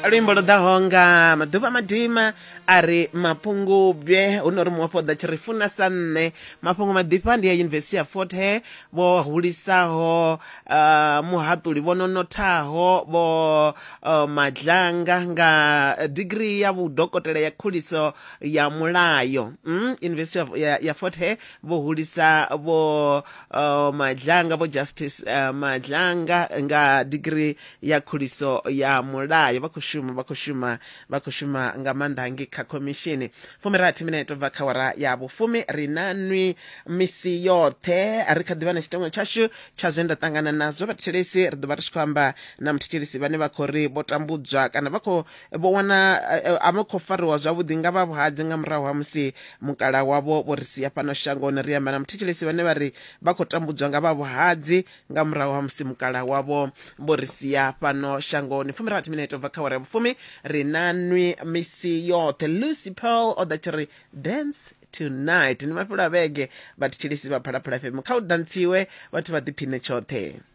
Luimbo lu ḓaho nga maḓuvha madima a ri mapungubwe hu no ri muofho ḓa tshi ri funa sa nṋe. Mafhungo maḓifha ndi ya Yunivesithi ya Fort Hare vho hulisaho muhaṱuli vho no nothaho vho Madlanga nga digirii ya vhudokotela ya khuliso ya mulayo. Yunivesithi ya Fort Hare vho hulisa vho Madlanga, vho Justice Madlanga nga digirii ya khuliso ya mulayo. Vha khou shuma, vha khou shuma, vha khou shuma nga maanḓa hangei kha khomishini. 60 minete bva kha wara ya vhufumi, ri na nwi misi yoṱhe. Ri kha ḓivha na tshiteṅwa tshashu tsha zwe nda ṱangana nazwo vhathetshelesi. Ri ḓo vha ri tshi khou amba na muthetshelesi vhane vha khou ri vho tambudzwa kana vha khou vho wana a vha khou fariwa zwavhuḓi nga vha vhuhadzi nga murahu ha musi mukala wavho vho ri sia fhano shangoni. Ri amba na muthetshelesi vhane vha ri vha khou tambudzwa nga vha vhuhadzi nga murahu ha musi mukala wavho vho ri sia fhano shangoni. 60 minete ubva kha wara ya vhufumi, ri na nwi misi yoṱhe. Lucy Pearl o ḓa tshi ri dance tonight. Ndi mafhelo a vhege vhathetshelesi vha Phalaphala FM, kha u dantsiwe vhathu vha ḓiphine tshoṱhe.